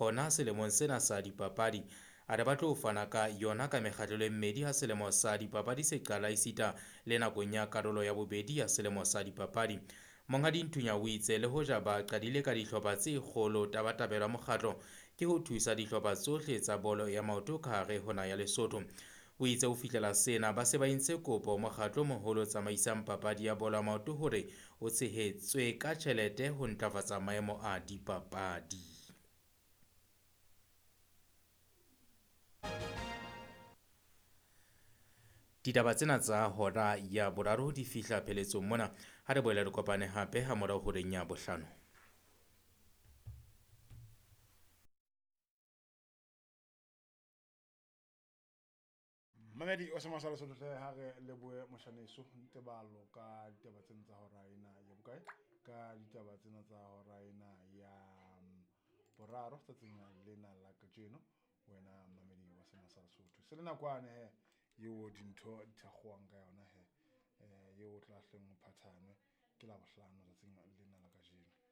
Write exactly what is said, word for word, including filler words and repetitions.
hona selemong sena sa dipapadi. A re ba tlo fana ka yona ka mekgahlelo e mmedi ha selemo sa dipapadi se qala esita le nakong ya karolo ya bobedi ya selemo sa dipapadi. Monghadi Nthunya o itse le hoja ba qadile ka dihlopha tse kgolo, tabatabelo ya mokgatlo ke ho thusa dihlopha tsohle tsa bolo ya maoto ka hare ho naha ya Lesotho. O itse ho fihlela sena ba se ba entse kopo mokgatlo o moholo o tsamaisang papadi ya bolo ya maoto hore o tshehetswe ka tjhelete ho ntlafatsa maemo a dipapadi. Ditaba tsena tsa hora ya boraro di fihla pheletsong mona. Ha re boele re kopane hape ha morao horeng ya bohlano. Mamedi o sema sa Lesotho hle, ha re lebohe moshaneso Ntebalo ka ditaba tsena tsa hora ena ya bokae, ka ditaba tsena tsa hora ena ya boraro tsatsing lena la kajeno. Wena mamedi wa sema sa Lesotho, se le nakwane he eo dintho di thakgowang ka yona he, eh eo tla hleng o phathanwe ke la bohlano tsatsing lena la kajeno.